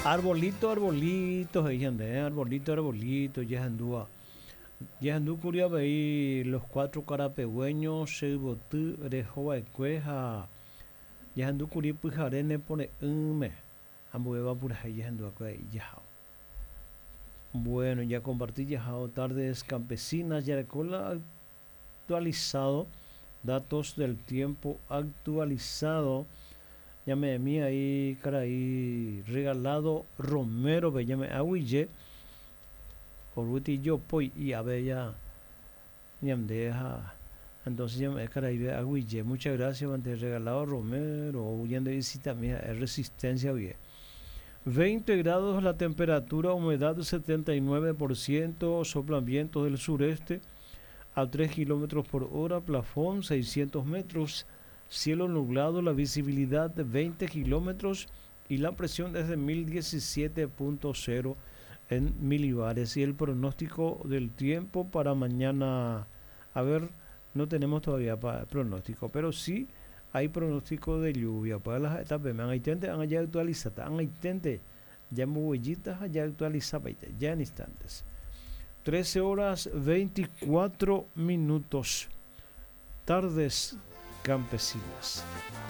Arbolito, arbolito, he'i ñande, arbolito, arbolito, jahendúva. Jahendúkuri avei Los Cuatro Karapegũeños, Che Yvoty rehova'ekue ha jahendúkuri Pyhare Nepore'ỹme, ambuéva purahéi jahenduva'ekue avei jahao. Bueno, jakomparti jahao Tardes Campesinas, jareko la actualizado, datos del tiempo actualizado, ñame'ẽmi aí karai Regalado Romero-pe, ñame'ẽ aguyje, oruti jopói i'ave ya ñande ha entonces ñame'ẽ karaive aguyje. Muchas gracias mante Regalado Romero, ou ñande visitami ha'e Resistencia guive. 20 grados la temperatura, humedad 79%, soplan vientos del sureste a 3 kilómetros por hora, plafón 600 metros, cielo nublado, la visibilidad de 20 kilómetros y la presión es de 1017.0 en milibares. Y el pronóstico del tiempo para mañana, a ver, no tenemos todavía pronóstico, pero sí hay pronóstico de lluvia. Para las etapas, han ya actualizado, han ya ya actualizado, ya en instantes. 13 horas 24 minutos. Tardes campesinas.